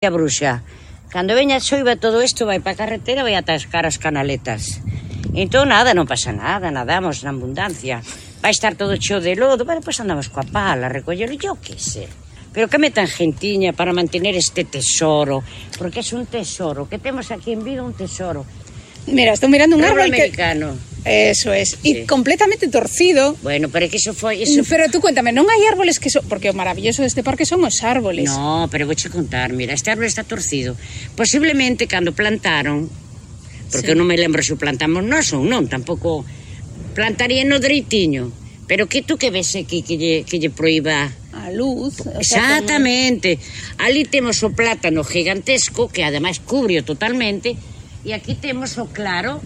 A bruxa, cando veña a xoiva todo isto vai para a carretera, vai atascar as canaletas. Entón nada, non pasa nada, nadamos na abundancia. Vai estar todo cheo de lodo, bueno, pois andamos coa pala, recollelo, yo que sé. Pero que metan gentiña para mantener este tesoro, porque é un tesoro, que temos aquí en Vigo un tesoro. Mira, estou mirando un árbol americano. Eso es, sí. E completamente torcido. Bueno, pero é que iso foi... Pero tú cuéntame, non hai árboles que son... Porque o maravilloso deste parque son os árboles. No, pero vouche contar, mira, este árbol está torcido. Posiblemente cando plantaron, porque non me lembro se o plantamos nós ou non, tampouco plantarían no dereitiño. Pero que tú que ves aquí que lle proíba... A luz. Exactamente. Ali temos o plátano gigantesco, que ademais cubre totalmente, e aquí temos o claro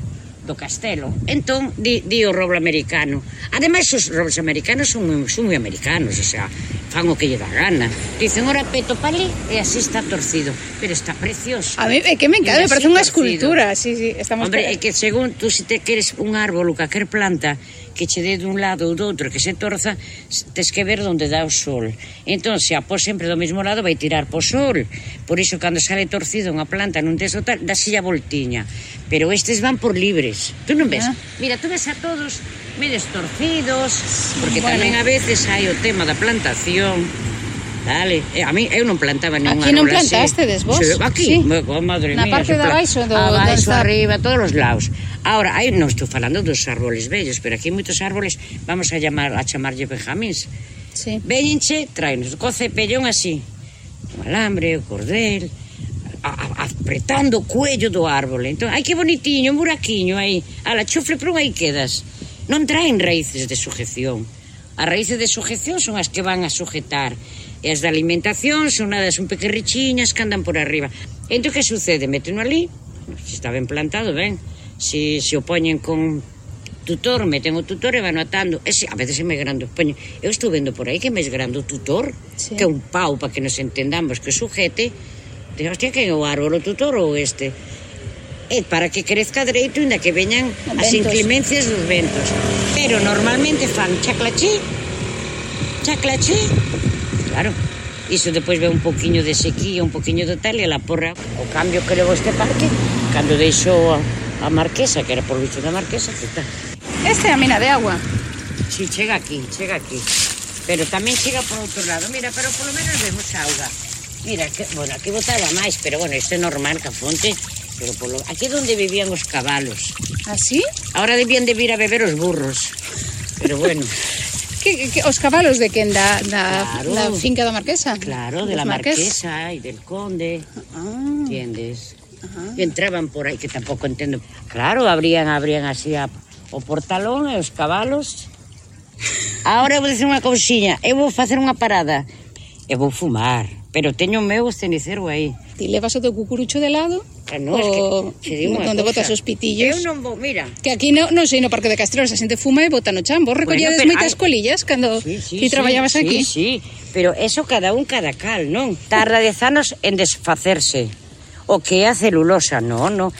do castelo. Entón, di o roble americano. Ademais, os robles americanos son moi americanos, o sea, fan o que lle dá gana. Dicen, ora peto pa ali, e así está torcido. Pero está precioso. A mí, é que me encanta, me parece unha escultura. Sí, estamos... Hombre, é que según tú, se te queres un árbol ou calquer planta que che dé dun lado ou do outro, que se torza, tes que ver onde dá o sol. Entón, se a pos sempre do mesmo lado, vai tirar po sol. Por iso, cando sale torcido unha planta nun teso tal, dáselle a voltiña. Pero estes van por libres. Tú non ves? Mira, tú ves a todos medio torcidos, porque tamén a veces hai o tema da plantación. Dale, a mí, eu non plantaba ningún árbol así. Aquí non plantastedes vos? Aquí, madre mía. Na parte de abaixo? Abaixo, arriba, todos os lados. Ahora, aí non estou falando dos árboles vellos, pero aquí moitos árboles, vamos a chamarlle benjamíns. Sí. Véñenche, traenos co cepellón así, o alambre, o cordel, apretando o cuello do árbol. Entón, ai que bonitiño, un buraquiño aí. Ala, chufle, pero aí quedas. Non traen raíces de sujeción. As raíces de sujeción son as que van a sujetar. E as de alimentación son nadas un pequerrichiñas que andan por arriba. Entón, que sucede? Méteno ali, se está ben plantado, ben. Se o poñen con tutor, meten o tutor e van atando. A veces é máis grande o poñen. Eu estou vendo por aí que é máis grande o tutor, sí, que é un pau, para que nos entendamos, que sujete. De, hostia, que é o árbol, o tutor ou este? É para que crezca dereito, inda que veñan as inclemencias dos ventos. Pero normalmente fan chaclachí, claro. Iso depois ve un poquinho de sequía, un poquinho de tal, e la porra. O cambio que levou este parque, cando deixou a Marquesa, que era por visto da Marquesa, que está. Esta é a mina de agua. Si, chega aquí. Pero tamén chega por outro lado. Mira, pero polo menos vemos auga. Mira, que, bueno, aquí botaba máis, pero bueno, isto é normal, que a fonte. Pero aquí é onde vivían os cabalos. ¿Así? Ahora debían de vir a beber os burros. Pero bueno. Que os cabalos de quen? Da finca da Marquesa? Claro, de la Marquesa e del Conde. Entiendes? E entraban por aí, que tampouco entendo. Claro, abrían así o portalón e os cabalos. Ahora vou dizer unha cousiña. Eu vou facer unha parada. Eu vou fumar, pero teño o meu cenicero aí. Ti levas o teu cucurucho de lado? No, es que onde botas os pitillos? Eu non vou, mira. Que aquí non sei no Parque de Castrelos, a xente fuma e bota no chan. Vos recollades moitas colillas cando ti traballabas aquí? Sí, pero eso cada cal, non? Tarda 10 anos en desfacerse. O que é a celulosa, non.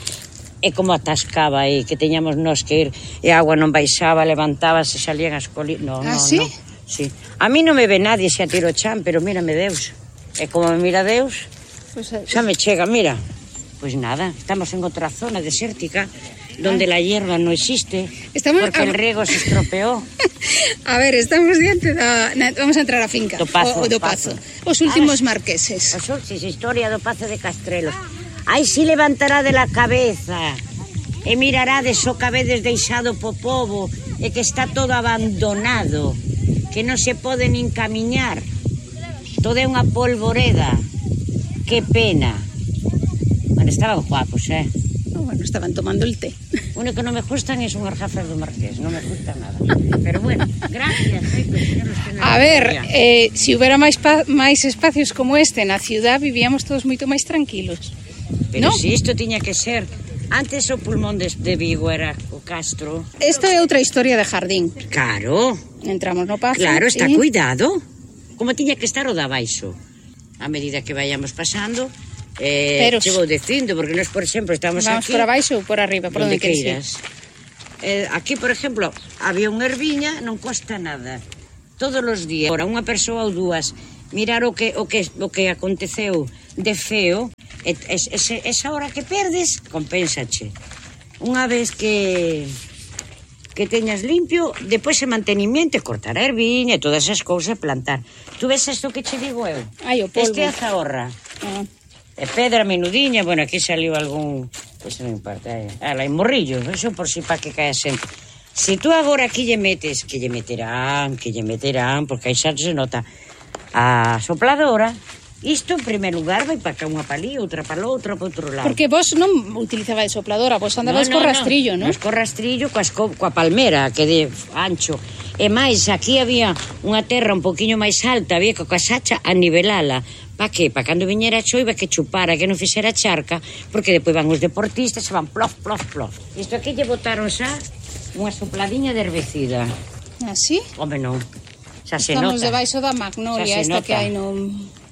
É como atascaba aí, que teñamos nós que ir e a agua non baixaba, levantábase, salían as colillas. No. Sí? Sí. A mí non me ve nadie se atiro o chan, pero mírame Deus. E como me mira Deus, xa me chega, mira. Pois nada, estamos en outra zona desértica, donde la hierba no existe, porque el riego se estropeó. A ver, estamos diante vamos a entrar á finca. Do Pazo. Os últimos marqueses. Historia do Pazo de Castrelos. Aí si levantará de la cabeza e mirarades o cabedes deixado po pobo e que está todo abandonado, que non se pode nin camiñar. Todo é unha polvoreda. Que pena. Bueno, estaban guapos, Bueno, estaban tomando el té. O único que non me gustan é unhas gafas do Marqués, non me gusta nada. Pero bueno, gracias. A ver, se houbera máis espacios como este na ciudad, vivíamos todos moito máis tranquilos. Pero si isto tiña que ser... Antes o pulmón de Vigo era o Castro. Isto é outra historia de jardín. Claro. Entramos no Pazo. Claro, está cuidado. Como tiña que estar o da baixo. A medida que vayamos pasando... Pero vou dicindo, porque nós, por exemplo, estamos vamos aquí... Vamos por abaixo ou por arriba, por onde queiras. Aquí, por exemplo, había unha herviña, non costa nada. Todos os días, ahora unha persoa ou dúas, mirar o que aconteceu de feo, esa hora que perdes, compénsache. Unha vez que teñas limpio, depois se mantenimiento, cortar a erviña e todas esas cousas, plantar. Tú ves isto que che digo eu? Ai, o polvo. Este é a zahorra. E pedra menudiña, bueno, aquí saliu algún... Pois non importa, hai morrillo, eso por si pa que cae sempre. Se tú agora aquí lle metes, que lle meterán, porque aí xa se nota a sopladora, isto en primer lugar vai para cá unha palí, outra para outra, para outro lado. Porque vos non utilizabais sopladora, vos andabais co rastrillo, non? Nos co rastrillo, coa palmera, que de ancho. E máis, aquí había unha terra un poquinho máis alta, había coa sacha a nivelala. Pa que? Pa cando viñera a choiva que chupara, que non fixera charca, porque depois van os deportistas e van plof, plof, plof. Isto aquí lle botaron xa unha sopladiña de herbicida. Así? Home, non. Xa se Estamos nota. debaixo da magnolia, esta nota. que hai no...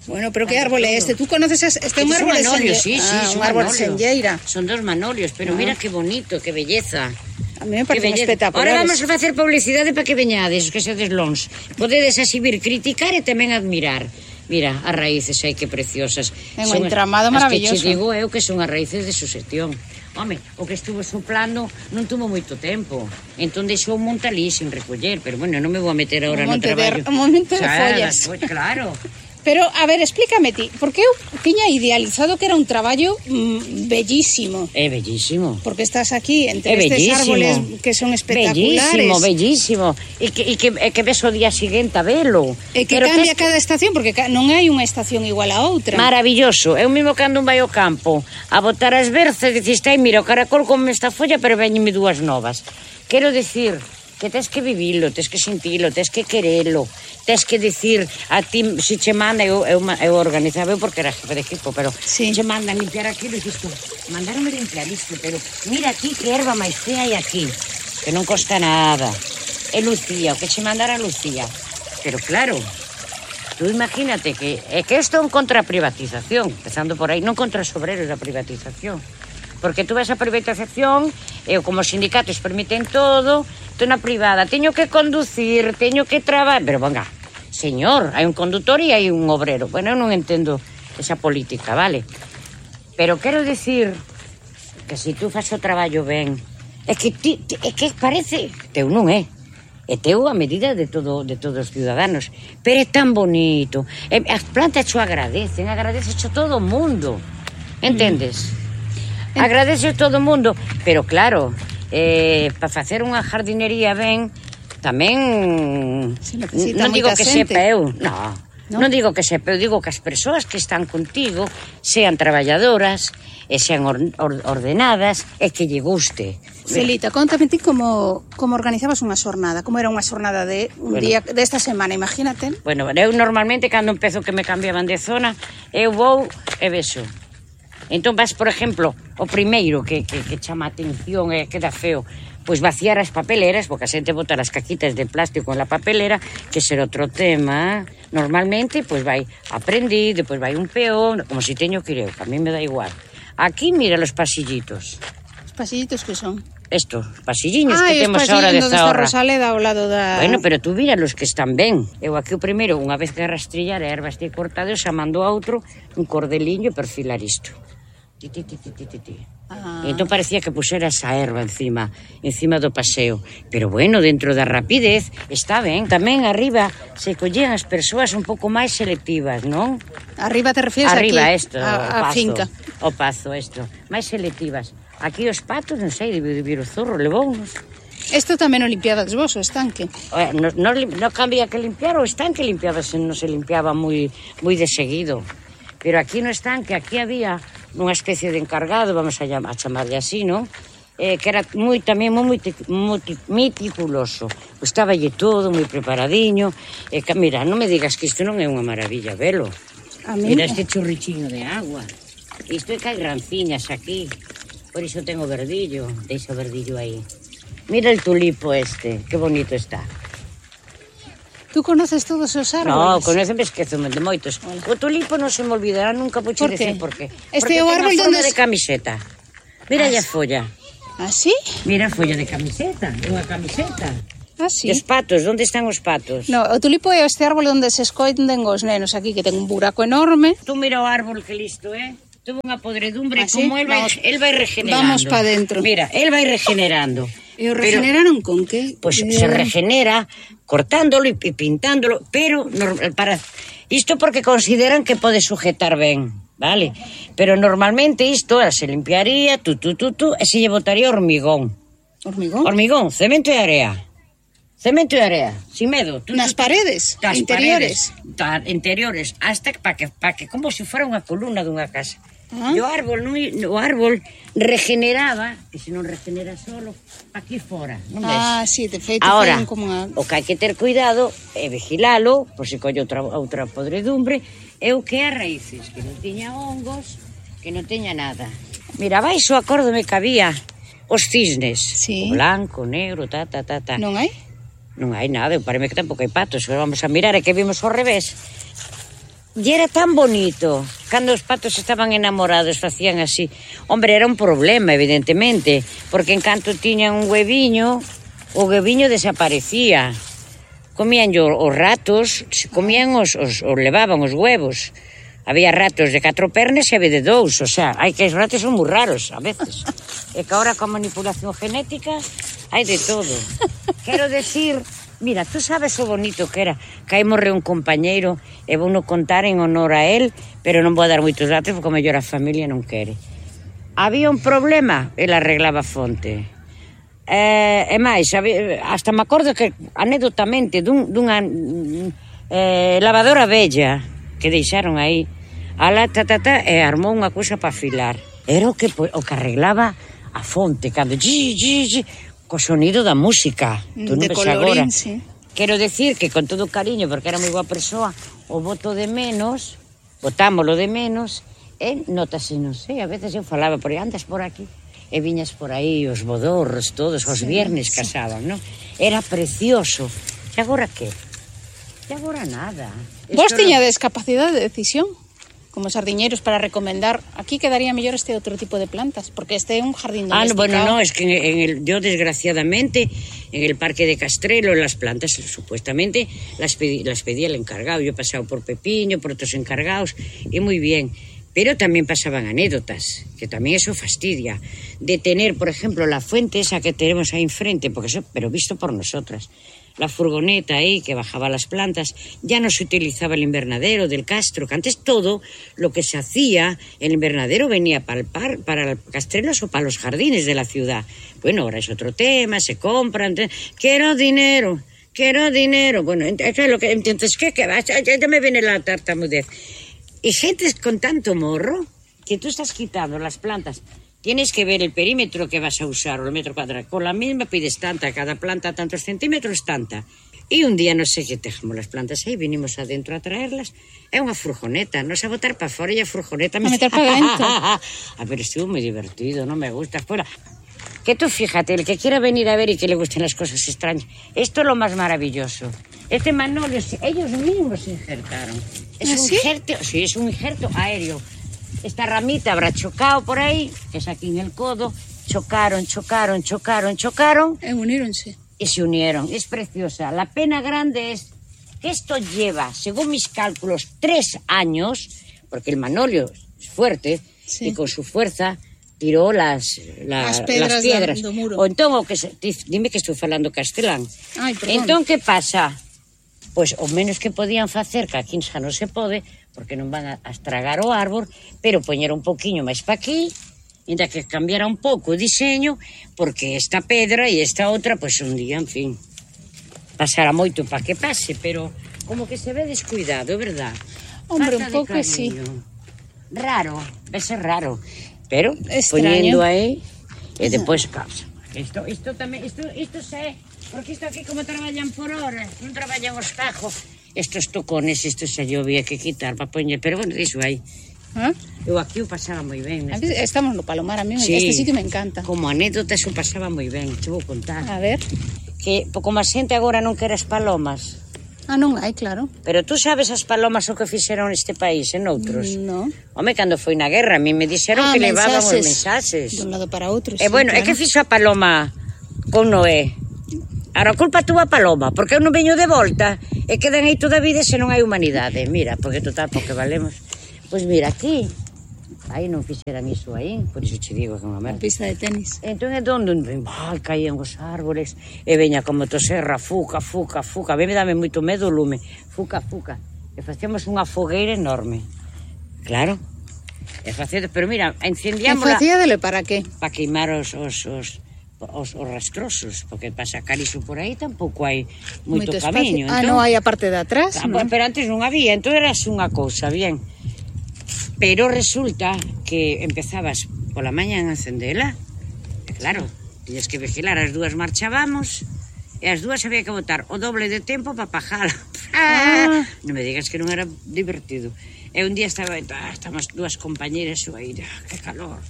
Bueno, pero que árbol é este? Tú conoces este é un árbol de manolio, senlleira? sí, Un árbol de senlleira. Son dos manolios, pero mira que bonito, que belleza. A mí me parece espectacular. Ahora vamos a facer publicidade para que veñades, que sedes lons. Podedes exhibir, criticar e tamén admirar. Mira, as raíces aí que preciosas. É un entramado maravilloso. As que che digo eu que son as raíces de sucesión. Home, o que estuvo soplando non tuvo moito tempo. Entón deixou un monte ali sin recoller. Pero bueno, non me vou a meter agora no traballo. Un momento de follas. Claro. Pero, a ver, explícame ti, porque eu tiña idealizado que era un traballo bellísimo. É bellísimo. Porque estás aquí entre estes árboles que son espectaculares. Bellísimo. E que ves o día seguinte a velo. E que cambia cada estación, porque non hai unha estación igual a outra. Maravilloso. Eu mesmo cando vai ao campo a botar as berzas, diciste, ai, mira, o caracol come esta folla, pero veñeme dúas novas. Quero decir que tens que vivilo, tens que sentilo, tens que querelo, tens que dicir a ti, se che manda, eu organizaba, eu porque era jefe de equipo, pero sí. Che mandan limpiar aquilo e dices, mandaronme limpiar isto, pero mira aquí que erva máis fea hai aquí, que non costa nada. E Lucía, o que che mandara Lucía. Pero claro, tú imagínate que isto é un contra a privatización, empezando por aí, non contra os obreros da privatización. Porque tú ves a privatización, eu como sindicatos permiten todo, tú na privada, teño que conducir, teño que traballar, pero venga, señor, hai un condutor e hai un obrero. Bueno, eu non entendo esa política, vale? Pero quero dicir que se tú faz o traballo ben, é que parece, teu non é, é teu a medida de todos os ciudadanos, pero é tan bonito, as plantas xo agradecen xo todo o mundo, entendes? Agradece todo o mundo, pero claro, para facer unha jardinería ben, tamén non digo que sepa eu, non digo que sepa eu, digo que as persoas que están contigo sean traballadoras e sean ordenadas e que lle guste. Celita, contame ti como organizabas unha xornada, como era unha xornada de un día desta semana, imagínate. Bueno, eu normalmente cando empezo que me cambiaban de zona, eu vou e vexo. Entón vas, por exemplo, o primeiro que chama a atención e queda feo, pois vaciar as papeleras, porque a xente bota as caquitas de plástico en la papelera, que será outro tema. Normalmente, pois vai aprendí, depois vai un peón, como si teño que ir eu, que a mí me dá igual. Aquí, mira los pasillitos. Os pasillitos que son? Estos, pasilliños que temos ahora de Zahorra. Rosaleda ao lado da... Bueno, pero tú mira los que están ben. Eu aquí o primeiro, unha vez que rastrillar a erva este cortado, xa mando a outro un cordeliño e perfilar isto. Entón parecía que pusera esa erva encima do paseo, pero bueno, dentro da rapidez está ben. Tamén arriba se collían as persoas un pouco máis selectivas, non? Arriba te refieres arriba, aquí? Arriba, a finca. O pazo, isto, máis selectivas. Aquí os patos, non sei, de vir o zorro, levounos. Isto tamén o limpiabas vos, o estanque? Non cambia que limpiar, o estanque limpiabase, non se limpiaba moi de seguido. Pero aquí no estanque, aquí había unha especie de encargado, vamos a chamarlle así, non? Que era tamén moi meticuloso. Estáballe todo moi preparadiño. Mira, non me digas que isto non é unha maravilla, velo. Mira este churrichiño de agua. Isto é que hai ranciñas aquí. Por iso tengo verdillo. Deixa o verdillo aí. Mira el tulipo este, que bonito está. Tú conoces todos os árboles? No, conoceme, esqueceme de moitos. O tulipo non se me olvidará nunca, poche decir por qué. Este é o árbol donde de camiseta. Mira a folla. ¿Ah, sí? Mira a folla de camiseta, é unha camiseta. Ah, sí? E os patos, onde están os patos? No, o tulipo é este árbol onde se esconden os nenos aquí, que ten un buraco enorme. Tú mira o árbol que listo, Tuvo unha podredumbre, ¿Ah, sí? como el vai regenerando. Vamos pa dentro. Mira, el vai regenerando. E o regeneraron con que? Pues se regenera cortándolo e pintándolo, pero para isto porque consideran que pode sujetar ben, vale? Pero normalmente isto se limpiaría, e se lle botaría hormigón. Hormigón? Hormigón, cemento e area. Cemento e area, sin medo. Nas paredes, interiores. Interiores, hasta para que como se fora unha columna dunha casa. Ah. E o árbol regeneraba, que se non regenera solo, aquí fora, non ves? Ah, sí, de feito Ahora, foi como unha... o que hai que ter cuidado é vigilalo, por se colle outra podredumbre, é o que é as raíces, que non tiña hongos, que non teña nada. Mira, baixo acórdome que había os cisnes, Sí. o blanco, o negro, Non hai? Non hai nada, parece que tampouco hai patos, vamos a mirar, é que vimos ao revés. E era tan bonito, cando os patos estaban enamorados, facían así. Hombre, era un problema, evidentemente, porque en canto tiñan un hueviño, o hueviño desaparecía. Comían os ratos, comían levaban os huevos. Había ratos de 4 pernas e había de 2, o sea, hai que os ratos son moi raros, a veces. E que ahora con manipulación genética hai de todo. Quero decir, mira, tú sabes o bonito que era, que aí morreu un compañeiro e vou no contar en honor a él, pero non vou dar moitos datos porque o mellor a familia non quere. Había un problema, el arreglaba fonte. E máis, hasta me acordo que anedotamente dunha lavadora bella que deixaron aí, e armou unha cousa para afilar. Era o que arreglaba a fonte, cando co sonido da música. Tú non de ves colorín, agora. sí. Quero decir que con todo cariño, porque era moi boa persoa, o botámolo de menos, e notase, non sei, a veces eu falaba, por aí, andas por aquí, e viñas por aí, os bodorros, todos, os viernes casaban, non? Era precioso. E agora que? E agora nada. Vos tiñades capacidade de decisión, como sardiñeiros, para recomendar, aquí quedaría mellor este outro tipo de plantas, porque este é un jardín domesticado. Bueno, no, es que yo desgraciadamente en el parque de Castrelo las plantas supuestamente las pedía el encargado. Yo he pasado por Pepiño, por otros encargados y muy bien. Pero también pasaban anécdotas, que también eso fastidia, de tener, por ejemplo, la fuente esa que tenemos ahí enfrente, porque eso, pero visto por nosotras. La furgoneta ahí que bajaba las plantas, ya no se utilizaba el invernadero del Castro, que antes todo lo que se hacía, el invernadero venía para Castrelos o para los jardines de la ciudad. Bueno, ahora es otro tema, se compran, quiero dinero. Bueno, entonces, ¿qué? Ya me viene la tartamudez. Y gente con tanto morro que tú estás quitando las plantas. Tienes que ver el perímetro que vas a usar, o el metro cuadrado. Con la misma pides tanta, cada planta tantos centímetros, tanta. Y un día, no sé qué, dejamos las plantas aí, vinimos adentro a traerlas. É unha furgoneta, nos a botar para fora e a furgoneta... A meter para dentro. A ver, estuvo muy divertido, no me gusta. Fuera. Que tú fíjate, el que quiera venir a ver y que le gusten las cosas extrañas, esto es lo más maravilloso. Este manolio, ellos mismos se injertaron. Es un injerto, sí, es un injerto aéreo. Esta ramita habrá chocado por ahí, que es aquí en el codo, chocaron. E uníronse. Y se unieron. Es preciosa. La pena grande es que esto lleva, según mis cálculos, 3 años, porque el manolio es fuerte, sí, y con su fuerza tiró las piedras do muro. O entón, dime que estou falando castelán. Ai, perdón. Entón, que pasa? Pois o menos que podían facer, que aquí xa non se pode, porque non van a estragar o árbol, pero poñer un poquinho máis pa aquí, ainda que cambiara un pouco o diseño, porque esta pedra e esta outra, pois un día, en fin, pasará moito para que pase, pero como que se ve descuidado, é verdad? Hombre, falta un pouco sí. Raro, vese raro, pero extraño. Poñendo aí, e depois causa. Isto tamén, isto sei, porque isto aquí como traballan por horas, non traballan os cajos. Estos tocones, isto xa yo había que quitar para poñer, pero bueno, iso aí. ¿Ah? Eu aquí o pasaba moi ben. Estamos no Palomar, a mí sí, este sitio me encanta. Como anécdota, eso pasaba moi ben, te vou contar. A ver. Que como a xente agora non quere as palomas. Ah, non hai, claro. Pero tú sabes as palomas o que fixeron neste país, en outros? No. Home, cando foi na guerra, a mí me dixeron que levaban os mensaxes. De un lado para outro, E bueno, claro. É que fixo a paloma con Noé? Ahora, culpa túa paloma, porque eu non veño de volta e quedan aí toda a vida se non hai humanidade. Mira, porque total, porque valemos. Pois mira, aquí, aí non fixeran iso aí, por iso che digo que é unha merda. A pista de tenis. Entón é donde caían os árboles e veña como toserra, fuca. A mí me dame moito medo o lume. Fuca. E facíamos unha fogueira enorme. Claro. E facendo, pero mira, encendíamola... E facíadele para que? Para queimar os rastrosos, porque para sacar iso por aí tampouco hai moito camiño. Entón, non hai a parte de atrás, non? Pero antes non había, entón era unha cousa, bien. Pero resulta que empezabas pola mañan a encendela, e claro, tiñas que vigilar, as dúas marchábamos, e as dúas había que botar o doble de tempo para pajala. Non me digas que non era divertido. E un día estábamos dúas compañeras aí, que calor,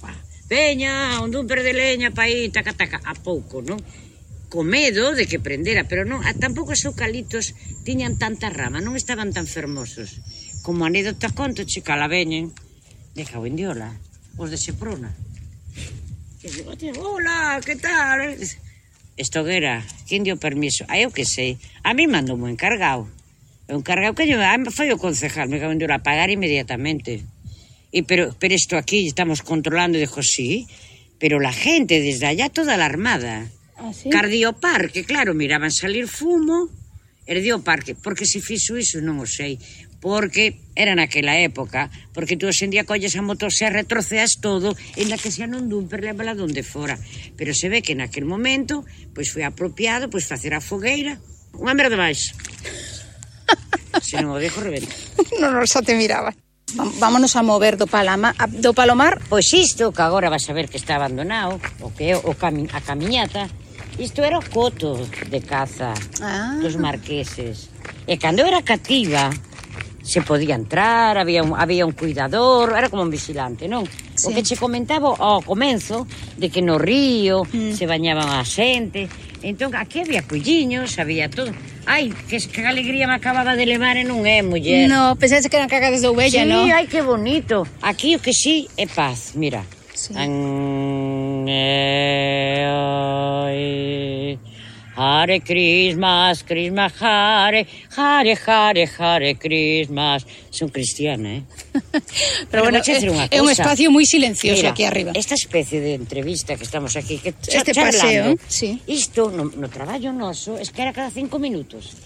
veña, un dumper de leña pa aí, taca, a pouco, non? Co medo de que prendera, pero non, tampouco os eucaliptos tiñan tanta rama, non estaban tan fermosos. Como anécdota conto, chica, la veñen, de cago en diola, os de Seprona. E digo, hola, que tal? Estoguera, quen dio permiso? Eu que sei, a mí mandou un encargado. O encargado que foi o concejal, me cago en diola, a pagar inmediatamente. Pero esto aquí estamos controlando, y dijo, sí, pero la gente desde allá toda alarmada. ¿Ah, sí? Cardio parque, claro, miraban salir fumo, erdio parque, porque se fixo iso non o sei, porque era naquela época, porque tú hoxendía colles a motosserra, troceas todo, e na que xa non dumper, lévala donde fora. Pero se ve que naquel momento, pois foi apropiado, pois facer a fogueira, unha merda máis. Se non o dejo, rebenta. Non, xa te miraba. Vámonos a mover do Palomar. Pois isto, que agora vas a ver que está abandonado, o que é a camiñata, isto era o coto de caza dos marqueses. E cando era cativa, se podía entrar, había un cuidador, era como un vigilante, non? Sí. O que che comentaba ao comenzo, de que no río se bañaban a xente, entón aquí había culliños, había todo. Ai, que alegría me acababa de levar e non é, muller. No, pensase que eran cagadas de ovella, sí, non? Sí, ai, que bonito. Aquí o que sí é paz, mira. Sí. Hare Christmas, Christmas, Hare Christmas. Son cristiana, Pero bueno, é un espacio moi silencioso. Mira, aquí arriba. Esta especie de entrevista que estamos aquí, que este paseo, sí. Isto, no traballo noso, es que era cada 5 minutos.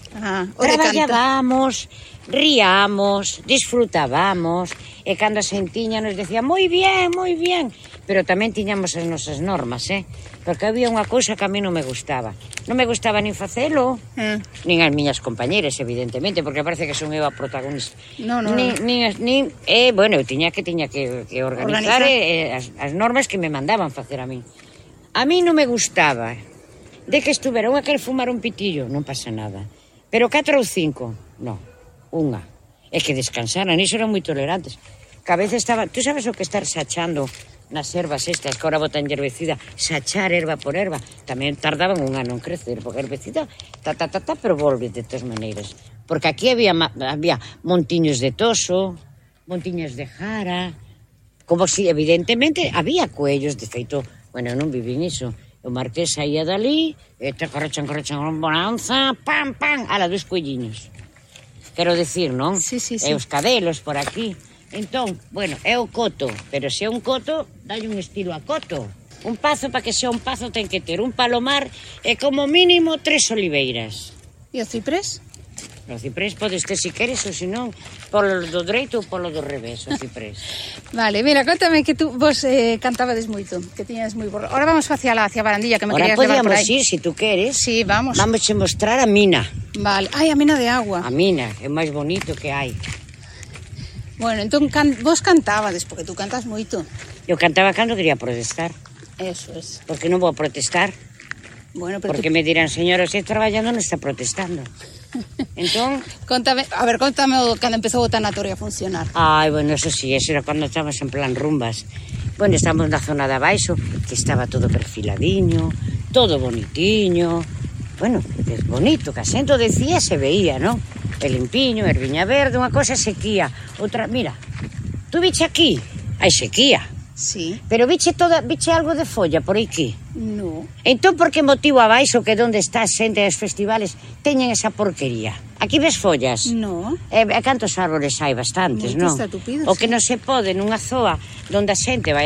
Traballábamos, ríamos, disfrutábamos, e cando a xentiña nos decía, moi bien, pero tamén tiñamos as nosas normas, porque había unha cousa que a mí non me gustaba. Non me gustaba nin facelo, nin as miñas compañeras, evidentemente, porque parece que son eu a protagonista. Bueno, eu tiña que organizar as normas que me mandaban facer a mí. A mí non me gustaba de que estuvera unha que fumar un pitillo, non pasa nada. Pero 4 ou 5, non, unha. E que descansaran, iso eran moi tolerantes. Que a veces estaba, tú sabes o que estar sachando nas ervas estas, que ahora botan herbecida, sachar erva por erva, tamén tardaban un ano en crecer, porque herbecida, pero volve de todas maneiras. Porque aquí había montiños de toso, montiños de jara, como si, evidentemente, había cuellos, de feito, bueno, non vivín iso. O marqués saía dali, e te correchan, bonanza, pam, ala, dos cuelliños. Quero decir, non? Sí. E os cadelos por aquí. Entón, bueno, é o coto, pero se é un coto, dalle un estilo a coto. Un pazo, para que sea un pazo, ten que ter un palomar e como mínimo 3 oliveiras. E o ciprés? O ciprés podes ter se queres, ou senón, polo do dereito ou polo do revés, o ciprés. Vale, mira, contame que vos cantabades moito, que tiñas moi borro. Ahora vamos hacia Barandilla, que me querías levar por aí. Ahora podíamos ir, se tú queres. Sí, vamos. Vamos a mostrar a mina. Vale, ai, a mina de agua. A mina, é o máis bonito que hai. Bueno, entón vos cantabades, porque tú cantas moito. Eu cantaba cando quería protestar. Eso es. Porque non vou protestar. Bueno, pero porque me dirán, señora, se traballando non está protestando. Entón... Contame cando empezou o tanatorio a funcionar. Ai, bueno, eso sí, eso era cando estábamos en plan rumbas. Bueno, estamos na zona de abaixo, que estaba todo perfiladiño, todo bonitiño. Bueno, é bonito, que a xente decía, se veía, non? El limpiño, erviña verde, unha cosa sequía, outra, mira, tú viche aquí, hai sequía, Sí. Pero viche algo de folla por aquí? No. Entón, por que motivo abaixo que onde está a xente dos festivales teñen esa porquería? Aquí ves follas? No. E cantos árboles hai? Bastantes, non? Moitos estatupidos, O que sí. non se pode nunha zoa onde a xente vai